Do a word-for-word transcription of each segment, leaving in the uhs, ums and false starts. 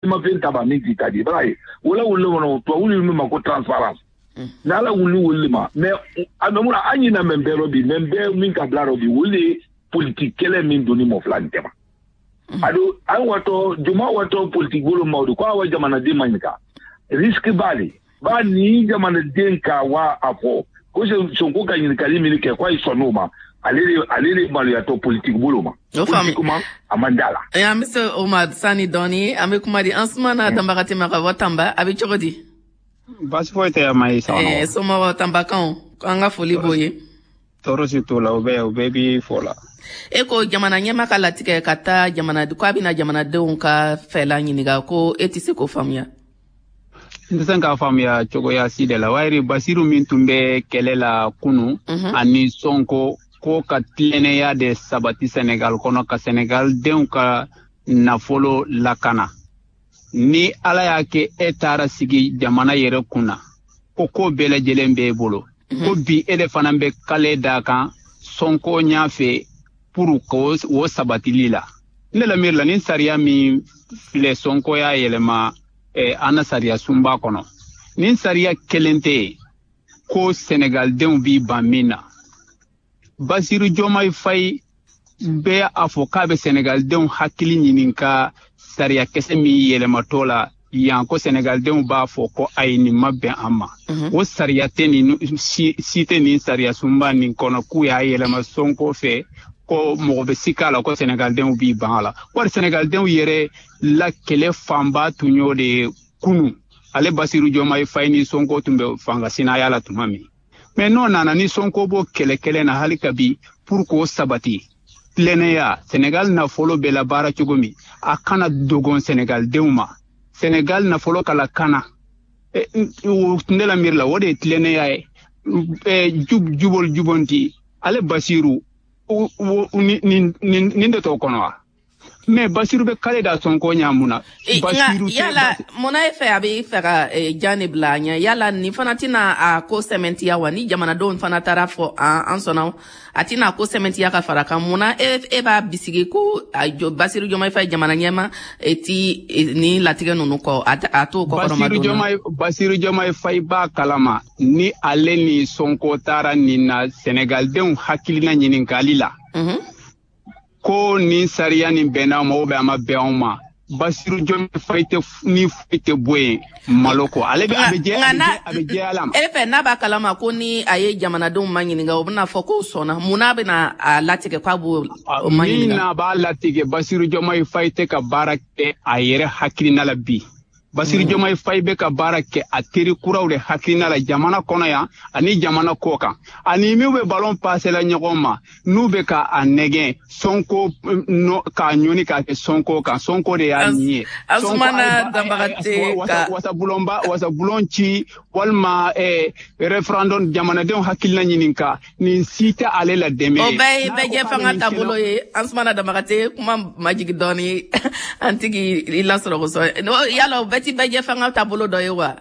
Ma fɛn ta ba min t'i ta di, i b'a ye wala wuli kɔnɔ, tubabu min ma ko transparence n'ala wuli wuli ma. Mais a mɛ mun na an ɲina mɛ bɛɛ rɔ bi, mɛ bɛɛ min ka bila rɔ bi, olu de ye politique kɛlɛ min donni mɔ fila nin tɛ ma. Ado an watɔ juma watɔ politique bolo ma, o de ko awa jamanaden ma ɲininka, risque b'a de ba ni jamanaden ka wa a fɔ ko Sonko ka ɲininkali min kɛ, k'a ye sɔn n'o ma, ale de ale de maloyatɔ politique bolo ma. O faamu. Politiquement a man d'a la. An bɛ se o ma sani dɔɔni. An bɛ kuma di Ansumana Danbagate ma ka bɔ Tanba. A bɛ cogo di? Baasi foyi tɛ, a ma ye. Sa somɔgɔw, Tanbakaw, an ka foli b'o ye. Tɔɔrɔ si t'o la, o bɛɛ o bɛɛ b'i fɔ la. E ko jamana ɲɛma ka latigɛ ka taa jamana ko a bɛna jamanadenw ka fɛla ɲininka, ko e tɛ se k'o faamuya. N tɛ se k'a faamuya cogoya si de la. Wayiri Basiru min tun bɛ kɛlɛ la kunu ani Sonko ko ka tilennenya de sabati Senegal kɔnɔ, ka Senegal denw ka nafolo lakana, ni Ala y'a kɛ e taara sigi jamana yɛrɛ kunna, ko ko bɛɛ lajɛlen b'e bolo, ko bi e de fana bɛ kale da kan Sonko ɲɛfɛ pour k'o o sabatili la. Ne la miiri la, ni sariya min filɛ, Sonko y'a yɛlɛma eh, an na sariya sunba kɔnɔ, ni sariya kelen tɛ yen ko Senegaldenw b'i ban min na. Basiru Jɔmayi Fayi bɛɛ a fɔ k'a bɛ Senegaldenw hakili ɲininka sariya kisɛ min yɛlɛmatɔ la yan, ko Senegaldenw b'a fɔ ko ayi, nin ma bɛn an ma. O sariya tɛ nin si, si tɛ nin sariya sunba nin kɔnɔ k'u y'a yɛlɛma Sonko fɛ ko mɔgɔ bɛ sika la ko Senegaldenw b'i ban a la. Wari Senegaldenw yɛrɛ la kɛlɛ fanba tun y'o de ye kunu. Ale Basiru Jɔmayi Fayi ni Sonko tun bɛ fanga sinaya la tuma min, mais n'o nana ni Sonko b'o kɛlɛ kɛlɛ na hali kabi pour k'o sabati, tilennenya, Senegal nafolo bɛ labaara cogo min, a kana dogon Senegaldenw ma, Senegal nafolo ka lakana, ne la miiri la, o de ye tilennenya ye. Jub jubol jubonti ale Basiru nin nin de t'o kɔnɔ wa? Mais Basiru bɛ kale da Sonko ɲa mun na? Basiru yala munna e fɛ a bɛ fɛ ka jan de bila a ɲɛ? Yala nin fana tɛna a ko sɛmɛntiya wa? Ni jamanadenw fana taara fɔ an sɔnna, a tɛna a ko sɛmɛntiya ka fara kan? Munna e e b'a bisigi ko Basiru Jɔmayi Fayi jamana ɲɛma ti ni latigɛ ninnu kɔ, a t'o kɔkɔrɔma don? Basiru Jɔmayi Fayi b'a kalama ni ale ni Sonko taara nin na Senegaldenw hakilina ɲininkali la ko nin sariya nin bɛnna ma ou bien a ma bɛn anw ma, Basiru Jɔmayi Fayi tɛ ni foyi tɛ bɔ yen malo kɔ. Ale bɛ a bɛ jɛ a bɛ jɛ ala ma. E fɛ n'a b'a kalama ko ni a ye jamanadenw ma ɲininka, o bɛna fɔ k'o sɔnna, mun n'a bɛna a latigɛ k'a b'o ma ɲininka? Min n'a b'a latigɛ, Basiru Jɔmayi Fayi tɛ ka baara kɛ a yɛrɛ hakilina la bi. Basiru Jɔmayi Fayi bɛ ka baara kɛ a teri kuraw de hakilina la jamana kɔnɔ yan ani jamana kɔ kan, ani min bɛ balon passer la ɲɔgɔn ma, n'u bɛ ka a nɛgɛn Sonko k'a ɲɔni k'a kɛ Sonko kan. Sonko de y'a nin ye. Asumana Danbagate ka wasabulonba wasabulon ci walima référendum jamanadenw hakilina ɲininka, nin si tɛ ale la dɛmɛ. O bɛɛ ye bɛɛ jɛ fanga taabolo ye. Asumana Danbagate, kuma majigin dɔɔni, an tigi i lasɔrɔ kosɛbɛ. Yala o bɛɛ ti bɛɛ jɛ fanga taabolo dɔ ye wa?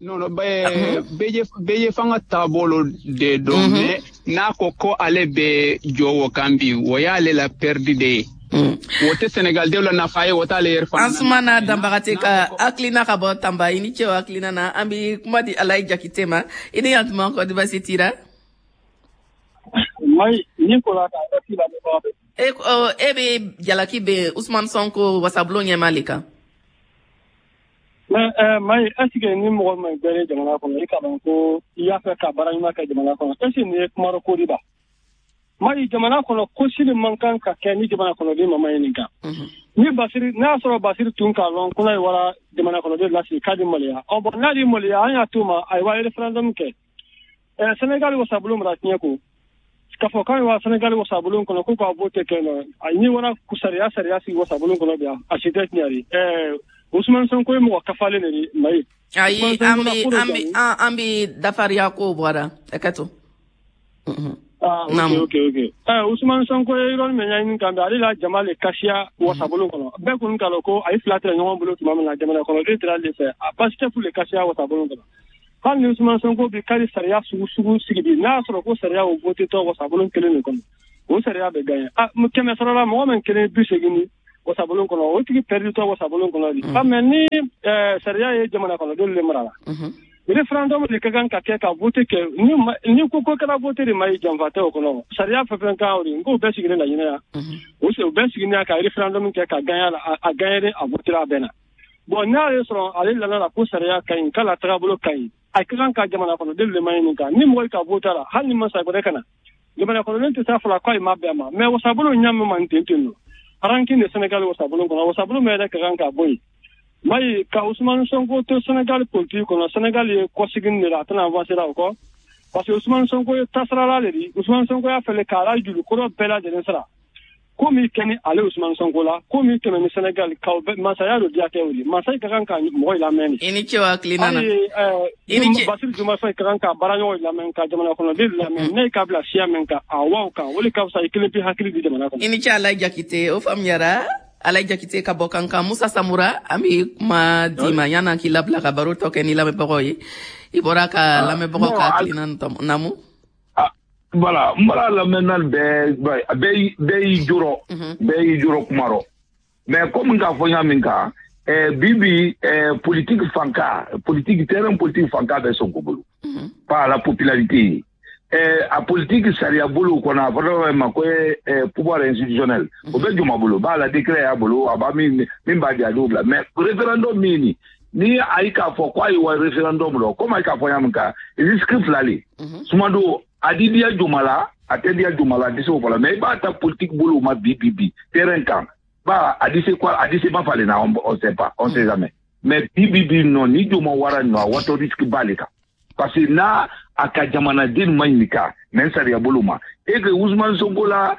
Non, non, bɛɛ fanga taabolo de don, mais n'a ko ko ale bɛ jɔ o kan bi, o y'ale la perdu de ye. O tɛ Senegaldenw la nafa ye, o t'ale yɛrɛ fana. Ansumana Danbagate ka hakilina ka bɔ Tanba, i ni ce o hakilina na. An bɛ kuma di Alayi Jakite ma. I ni yantuma, kɔ di basi tira? Mayi ni ko la ka la. E e bɛ jalaki bɛ Ousmane Sonko wasabulon ɲɛmaa le kan. Mais Mayi, est-ce que ni mɔgɔ ma gbɛrɛ jamana kɔnɔ, i ka dɔn ko i y'a fɛ ka baara ɲuman kɛ jamana kɔnɔ, est-ce que nin ye kuma dɔ ko de ba? Mayi, jamana kɔnɔ ko si man kan ka kɛ ni jamana kɔnɔden ma ma ɲininka. Ni Basiri, n'a y'a sɔrɔ Basiri tun k'a lɔn ko n'a ye wara jamana kɔnɔden lasigi k'a di maloya. Ɔ bɔn, n'a di maloya, an y'a t'o ma, a ye wa référendum kɛ. Ɛɛ Sénégal wasabulon mara tiɲɛ ko k'a fɔ k'an ye wa Sénégal wasabulon kɔnɔ ko k'a vote kɛ nɔ, a ni wara sariya sariya sigi wasabulon kɔnɔ bi, a si tɛ tiɲɛ de. Ɛɛ Ousmane Sonko ye mɔgɔ kafalen de ye, Mayi. Ayi, an bɛ an bɛ an bɛ dafariya ko bɔra hakɛ to. Ah, ok ok ok. Eh, Ousmane Sonko ye yɔrɔ min ɲɛɲini kan bi, ale la jama le kasiya wasabulon kɔnɔ. Bɛɛ kɔni k'a lɔn ko a ye fila tɛrɛ ɲɔgɔn bolo tuma min na, jamana kɔnɔden tɛrɛ ale fɛ, a Pastef le kasiya wasabulon kɔnɔ. Hali ni Ousmane Sonko bi kari sariya sugu sugu sigi bi, n'a y'a sɔrɔ ko sariya o vote tɔ wasabulon kelen de kɔnɔ, o sariya bɛ gagné. Ah, kɛmɛ sara la mɔgɔ min kelen bi seegin ni wasabulon kɔnɔ o tigi perdu tɔ wasabulon kɔnɔ di. Ah mais ni sariya ye jamana kɔnɔ denw le mara la. Référendum de ka kan ka kɛ ka vote kɛ ni ni ko ko kɛra vote de ma ye janfa tɛ o kɔnɔ sariya fɛn fɛn kan o de n k'o bɛɛ sigilen laɲinɛ yan o o bɛɛ sigilen ka référendum kɛ ka gagner a gagner a vote a bɛɛ na bon n'a ye sɔrɔ ale lana la ko sariya ka ɲi k'a la tagabolo ka ɲi a ka kan ka jamana kɔnɔ den le ma ɲini kan ni mɔgɔ ka vote la hali ni masa wɛrɛ ka na jamana kɔnɔden tɛ taa fɔlɔ k'a ma bɛn a ma mais wasabulon ɲa min ma ten ten don rankin de Sénégal wasabulon kɔnɔ wasabulon min yɛrɛ ka kan ka bɔ yen Mayi ka Ousmane Sonko to Sénégal politique kɔnɔ Sénégal ye kɔsigin de la a tɛna avancer la o kɔ parce que Ousmane Sonko ye tasarala de di Ousmane Sonko y'a fɛlɛ k'a la juru kɔrɔ bɛɛ lajɛlen sara ko min kɛ ni ale Ousmane Sonko la ko min tɛmɛ ni Sénégal ka masaya dɔ diya kɛ o de masa ka kan ka mɔgɔ lamɛn de. I ni ce wa hakilina na. I ni ce Bassirou Diomaye Faye ka kan ka baaraɲɔgɔn lamɛn ka jamana kɔnɔden lamɛn ne ka bila siya min kan a waw kan o de ka fisa i kelen pe hakili di jamana kɔnɔ. I ni ce Alaye Jakite o faamuyara. Alaye Jakite ka bɔ Kankan Musa Samura an bɛ kuma d'i ma yan'an k'i labila ka baro tɔ kɛ ni lamɛnbagaw ye i bɔra ka lamɛnbagaw ka hakilina naamu. Voilà n bɔra lamɛnna bɛɛ bɛɛ bɛɛ y'i jɔrɔ bɛɛ y'i jɔrɔ kuma rɔ mais comme n k'a fɔ ɲa min kan bi bi politique fanka politique terrain politique fanka bɛ Sonko bolo par la popularité. Eh, a politique sariya bolo kɔnɔ a fɔra ma ko eh, pouvoir institutionnel o bɛ juma bolo b'a la décret y'a bolo a b'a min min b'a di a d'o bila mais référendum min ni ni a yi k'a fɔ ko ayiwa référendum lɔ komi a yi k'a fɔ ɲa min kan risque fila le sumado a di diya juma la a tɛ diya juma la a tɛ se o fɔlɔ mais i b'a ta politique bolo ma bi bi bi terrain kan ba a di se quoi a di se ba falen na on on sait pas on sait jamais mais bi bi bi non ni juma wara nɔ a watɔ risque ba le kan parce que n'a a ka jamanaden ma ɲininka mɛ sariya bolo ma e que Ousmane Sonko la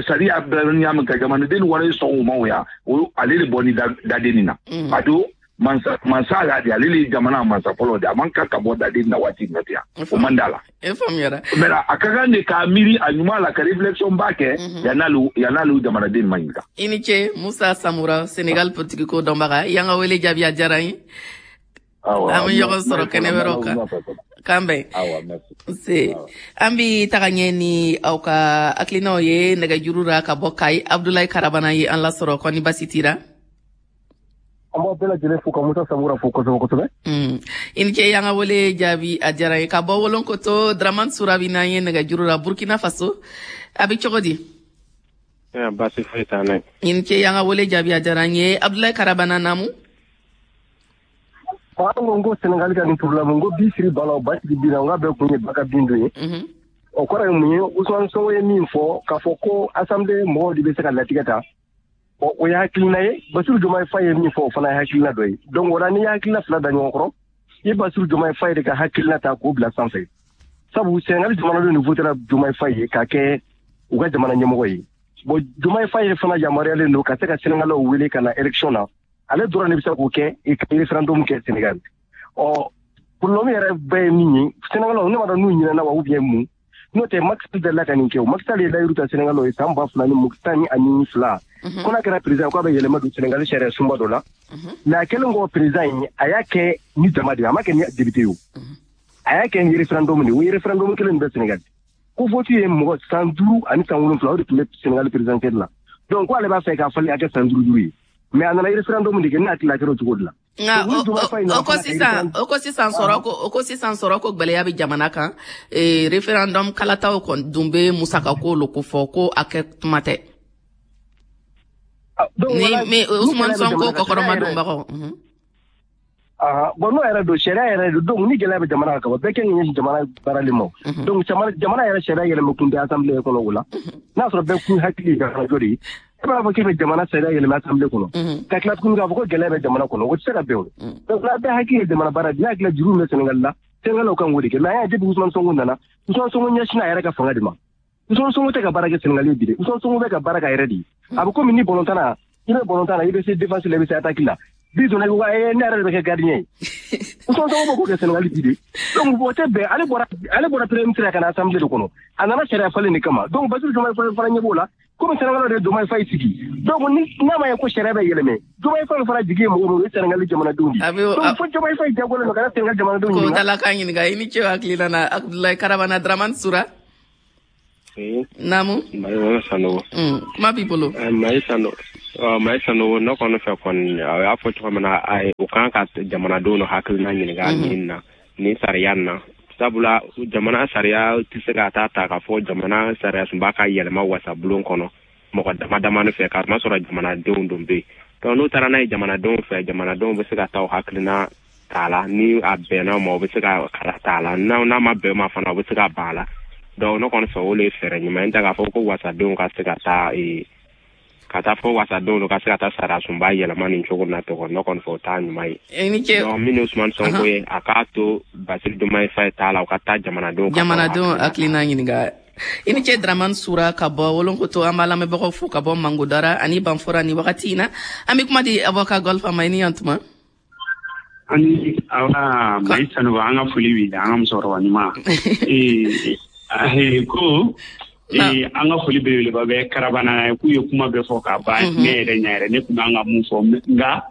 sariya bila ɲa min ka jamanaden wari sɔn o ma o ya o ale de bɔ ni daden na a don mansa mansa la de ale le jamana mansa fɔlɔ de a man kan ka bɔ daden na waati min na ten o man d'a la. E faamuyara. Mais a ka kan de k'a miiri a ɲuman la ka réflexion ba kɛ yan'ale yan'ale jamanaden ma ɲininka. I ni ce Musa Samura Sénégal politique ko dɔnbaga i y'an ka wele jaabi a diyara n ye. An bɛ ɲɔgɔn sɔrɔ kɛnɛ wɛrɛw kan. K'an bɛn. Nse an bi taga ɲɛ ni aw ka hakilinaw ye nɛgɛjuru la ka bɔ Kayi Abdoulaye Karabana ye an lasɔrɔ kɔni basi t'i la. An b'aw bɛɛ lajɛlen fo ka Musa Samura fo kosɛbɛ kosɛbɛ. I ni ce y'an ka wele jaabi a diyara n ye ka bɔ Wolonkoto Dramane Sura bi n'an ye nɛgɛjuru la Burkina Faso a bɛ cogo di. Baasi foyi t'an na. I ni ce y'an ka wele jaabi a diyara n ye Abdoulaye Karabana naamu. An ko n ko Sénégal ka nin problème n ko bi siri ba la o ba siri bin na n k'a bɛɛ kun ye ba ka bin don ye. O kɔrɔ ye mun ye Ousmane Sonko ye min fɔ k'a fɔ ko assemblée mɔgɔw de bɛ se ka latigɛ ta o ye hakilina ye Bassirou Diomaye Faye ye min fɔ o fana ye hakilina dɔ ye donc o la n'i ye hakilina fila da ɲɔgɔn kɔrɔ i ye Bassirou Diomaye Faye de ka hakilina ta k'o bila sanfɛ sabu Sénégal jamanadenw de votera Diomaye Faye ye k'a kɛ u ka jamana ɲɛmɔgɔ ye bon Diomaye Faye fana yamaruyalen don ka se ka Sénégalais wele ka na élection na ale dɔrɔn de bɛ se k'o kɛ i ka référendum kɛ Sénégal ɔ problème yɛrɛ bɛɛ ye min ye Sénégalais ne m'a dɔn n'u ɲinɛna wa ou bien mun n'o tɛ Macky Sall delila ka nin kɛ o Macky Sall ye layiru ta Sénégalais ye san ba fila ni tan ni ani fila ko n'a kɛra président k'a bɛ yɛlɛma don Sénégal sariya sunba dɔ la mais a kɛlen kɔ président ye a y'a kɛ ni jama de ye a ma kɛ ni député ye o a y'a kɛ ni référendum de ye o référendum kelen bɛ Sénégal ko vote ye mɔgɔ san duuru ani san wolonwula o de tun bɛ Sénégal présidentielle la donc ko ale b'a fɛ k'a falen a kɛ san duuru duuru ye mais a nana référendum de kɛ ne hakili la a kɛra o cogo de la. Nka o ko sisan o ko sisan sɔrɔ ko o ko sisan sɔrɔ ko gɛlɛya bɛ jamana kan référendum kalataw kɔni dun bɛ musakako lo ko fɔ ko a kɛ tuma tɛ. Ni mais Ousmane Sonko kɔkɔrɔma donbagaw. Bon n'o yɛrɛ don sariya yɛrɛ don donc ni gɛlɛya bɛ jamana kan bɛɛ kɛ ɲɛsin jamana baarali ma donc jamana yɛrɛ sariya yɛlɛma kun tɛ assemblée kɔnɔ o la n'a sɔrɔ bɛɛ kun hakili ye jamana jɔ de ye e b'a fɔ k'e bɛ jamana sariya yɛlɛma assemblée kɔnɔ ka tila tuguni k'a fɔ ko gɛlɛya bɛ jamana kɔnɔ o tɛ se ka bɛn o donc n'a bɛɛ hakili ye jamana baara de ye n'a hakili juru min bɛ Sénégal la Sénégalais kan k'o de kɛ mais an y'a ye depuis Ousmane Sonko nana Ousmane Sonko ɲɛsinna a yɛrɛ ka fanga de ma Ousmane Sonko tɛ ka baara kɛ Sénégal ye bi dɛ Ousmane Sonko bɛ ka baara k'a yɛrɛ de ye a bɛ komi ni ballon na i bɛ ballon na i bɛ se défense la i bɛ se attaque la bi donna ko eh ne yɛrɛ de bɛ kɛ gardien ye Ousmane Sonko b'o kɛ Sénégal bi de donc o tɛ bɛn ale bɔra ale bɔra premier ministre ka na assemblée de kɔnɔ a nana sariya falen de kama donc Bassirou Diomaye Faye fana ɲɛ b'o la komi Sénégal de Diomaye Faye sigi donc ni n'a ma ye ko sariya bɛ yɛlɛmɛ Diomaye Faye fana jigi ye mɔgɔ min o ye Sénégal jamanadenw de ye donc fo Diomaye Faye jagoyalen don ka na Sénégal jamanadenw ɲininka. Ko dalakan ɲininka i ni ce hakilina na Abdoulaye Karabana Dramane Soura. Oui. Naamu. Mayi Sanogo. Kuma b'i bolo. Mayi Sanogo. Ɔ Mayi Sanogo, ne kɔni fɛ kɔni, a y'a fɔ cogo min na, u kan ka jamanadenw hakilina ɲininka nin na, nin sariya nin na. Sabula jamana sariya tɛ se ka taa ta k'a fɔ jamana sariya sunba ka yɛlɛma wasabulon kɔnɔ mɔgɔ dama damani fɛ, k'a masɔrɔ jamanadenw dun bɛ yen. Donc n'u taara n'a ye jamanadenw fɛ, jamanadenw bɛ se ka taa u hakilina t'a la, ni a bɛnna ma u bɛ se ka kala t'a la, n'a ma bɛn ma fana u bɛ se ka ban a la. Donc ne kɔni fɛ o de ye fɛɛrɛ ɲuman ye, n tɛ k'a fɔ ko wasadenw ka se ka taa ka taa fɔ wasadenw ka se ka taa sariya sunba yɛlɛma nin cogo na tɔgɔ, ne kɔni fɛ o t'a ɲuman ye. Donc min ye Ousmane Sonko ye, a k'a to Bassirou Diomaye Faye t'a la, u ka taa jamanadenw jamanadenw hakilina ɲininka. I ni ce Dramane Sura ka bɔ Wolonkoto. An b'a lamɛnbagaw fo ka bɔ Mangodara ani Banfora ni wagati in na. An bɛ kuma di avocat Golf ma, i ni yan tuma. Ani awa Mayi Sanogo, an ka foli b'i la, an ka musokɔrɔba ɲuman. Ee ko ee an ka foli belebeleba bɛ Karabana ye, k'u ye kuma bɛɛ fɔ k'a ban. Ne yɛrɛ ɲɛ yɛrɛ ne tun b'an ka mun fɔ, nka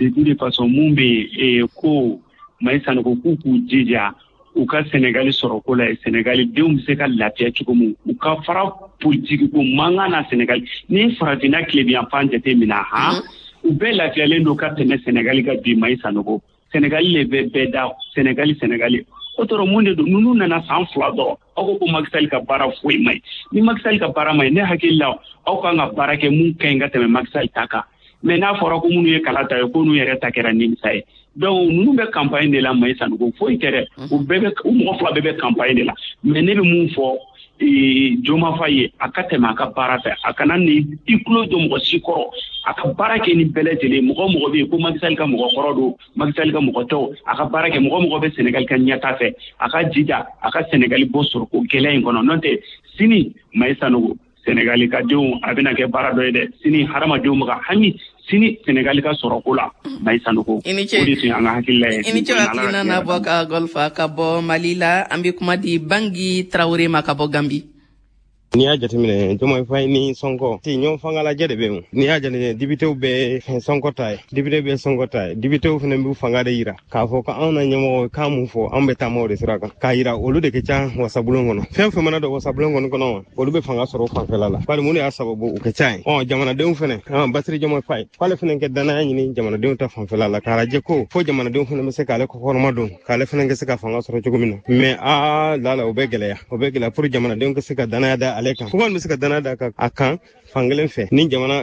de toute façon mun bɛ yen, ko Mayi Sanogo k'u k'u jija u ka Senegali sɔrɔ ko la, Senegali denw bɛ se ka lafiya cogo min, u ka fara politiki ko mankan na Senegali. Ni farafinna tilebinyanfan jate minɛ, han, u bɛɛ lafiyalen don ka tɛmɛ Senegali ka bi. Mayi Sanogo, Senegali le bɛ bɛɛ da, Senegali Senegali o tɔrɔ mun de don? Ninnu nana san fila dɔrɔn, aw ko ko Macky Sall ka baara foyi ma ɲi. Ni Macky Sall ka baara ma ɲi, ne hakili la aw kan ka baara kɛ mun ka ɲi ka tɛmɛ Macky Sall ta kan. Mais n'a fɔra ko minnu ye kala ta ye, ko n'u yɛrɛ ta kɛra nimisa ye. Donc ninnu bɛ campagne de la, Mayi Sanogo, foyi tɛ dɛ, u bɛɛ bɛ, u mɔgɔ fila bɛɛ bɛ campagne de la. Mais ne bɛ mun fɔ Diomaye Faye ye, a ka tɛmɛ a ka baara fɛ, a kana ni i tulo jɔ mɔgɔ si kɔrɔ, a ka baara kɛ ni bɛɛ lajɛlen. Mɔgɔ mɔgɔ bɛ yen ko Macky Sall ka mɔgɔ kɔrɔ don, Macky Sall ka mɔgɔ tɛ, a ka baara kɛ. Mɔgɔ mɔgɔ bɛ Senegali ka ɲɛta fɛ, a ka jija a ka Senegali bɔ sɔrɔ ko gɛlɛya in kɔnɔ. N'o tɛ sini Mayi Sanogo, Senegali ka denw a bɛna kɛ baara dɔ ye dɛ. Sini hadamadenw bɛ ka hami sini Senegali ka sɔrɔ ko la. Mayi Sanogo, o de tun y'an ka hakilila ye. I ni ce hakilina na bɔ ka Golfa ka bɔ Mali la. An bɛ kuma di Bangi Traoré ma ka bɔ Gambi. N'i y'a jateminɛ, Diomaye Faye ni Sonko ti ɲɔgɔn fangalajɛ de bɛ yen. N'i y'a jateminɛ, députéw bɛ Sonko ta ye, député bɛ Sonko ta ye, députéw fana b'u fanga de yira k'a fɔ ko anw na ɲɛmɔgɔ k'an mun fɔ, anw bɛ taama o de sira kan, k'a yira olu de ka ca wasabulon kɔnɔ. Fɛn fɛn mana don wasabulon kɔni kɔnɔ, olu bɛ fanga sɔrɔ fanfɛla la. Bari mun de y'a sababu u ka ca yen? Ɔ jamanadenw fana, Bassirou Diomaye Faye k'ale fana kɛ danaya ɲini jamanadenw ta fanfɛla la, k'a lajɛ ko fo jamanadenw fana bɛ se k'ale kɔkɔrɔma don, k'ale fana kɛ se ka fanga sɔrɔ cogo min na. Mais aa lala, o bɛ gɛlɛya, o bɛ gɛlɛya pour jamanadenw ka se ka danaya da ale kan. Kuma bɛ se ka danaya da a kan fankelen fɛ, ni jamana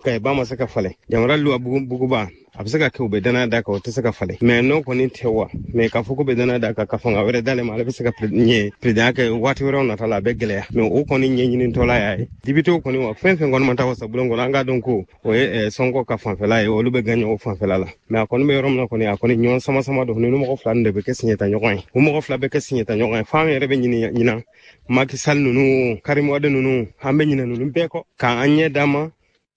kayeba ma se ka falen, jamana luwa buguba a bɛ se ka kɛ u bɛ danaya da kan, o tɛ se ka falen. Mais n'o kɔni tɛ wa, mais k'a fɔ ko bɛ danaya da kan ka fanga wɛrɛ d'ale ma, ale bɛ se ka ɲɛ président kɛ waati wɛrɛw nata la, a bɛ gɛlɛya. Mais o kɔni ɲɛɲinitɔla y'a ye député kɔni wa fɛn fɛn kɔni ma taa wasabulon kɔnɔ, an k'a dɔn ko o ye Sonko ka fanfɛla ye, olu bɛ gagner o fanfɛla la. Mais a kɔni bɛ yɔrɔ min na kɔni, a kɔni ɲɔgɔn sama sama don, ni mɔgɔ fila de bɛ kɛ siɲɛta ɲɔgɔn ye, o mɔgɔ fila bɛ kɛ siɲɛta ɲɔgɔn ye. F'an yɛrɛ bɛ ɲini ɲinan Macky Sall ninnu, Karim Wade ninnu, an bɛ ɲinɛ ninnu bɛɛ kɔ k'an ɲɛ d'a ma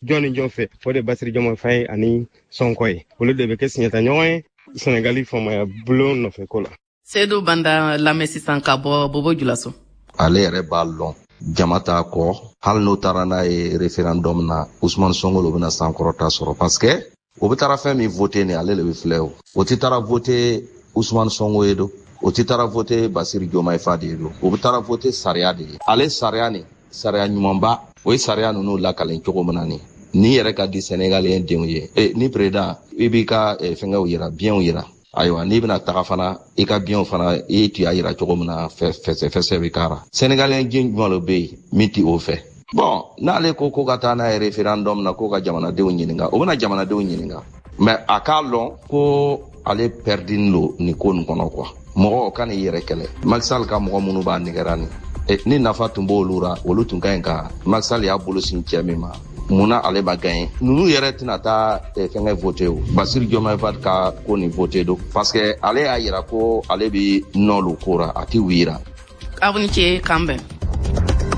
jɔn ni jɔn fɛ. O de Bassirou Diomaye Faye ani Sonko ye, olu de bɛ kɛ siɲɛta ɲɔgɔn ye Senegali faamaya bulon nɔfɛ ko la. Seydou Banda lamɛn sisan ka bɔ Bobo Julaso. Ale yɛrɛ b'a lɔn jama t'a kɔ, hali n'o taara n'a ye référendum na, Ousmane Sonko lo bɛna sankɔrɔta sɔrɔ, parce que o bɛ taara fɛn min voter ni ale le bɛ filɛ o. O tɛ taara voter Ousmane Sonko ye don, o tɛ taara voter Bassirou Diomaye Faye de ye don, o bɛ taara voter sariya de ye. Ale sariya ni sariya ɲumanba, o ye sariya ninnu lakalen cogo min na ni ni yɛrɛ ka di Sénégalien denw ye. E, ni président i b'i ka fɛngɛw yira, bienw yira, ayiwa n'i bɛna taga fana i ka bienw fana i tun y'a yira cogo min na, fɛsɛ fɛsɛ bɛ k'a la. Sénégalien den jumɛn de bɛ yen min tɛ o fɛ? Bon, n'ale ko ko ka taa n'a ye référendum na, ko ka jamanadenw ɲininka, o bɛna jamanadenw ɲininka, mais a k'a lɔn ko ale perdin don nin ko nin kɔnɔ quoi. Mɔgɔ ka n'i yɛrɛ kɛlɛ. Macky Sall ka mɔgɔ minnu b'a nɛgɛra nin, ni nafa tun b'olu ra, olu tun ka ɲi ka Macky Sall y'a bolo sin cɛ min ma, munna ale ma gagné? Ninnu yɛrɛ tɛna taa fɛngɛ voter o, Bassirou Diomaye Faye ka ko nin voter don, parce que ale y'a yira ko ale bi nɔ lo ko ra, a ti wira. Aw ni ce, k'an bɛn.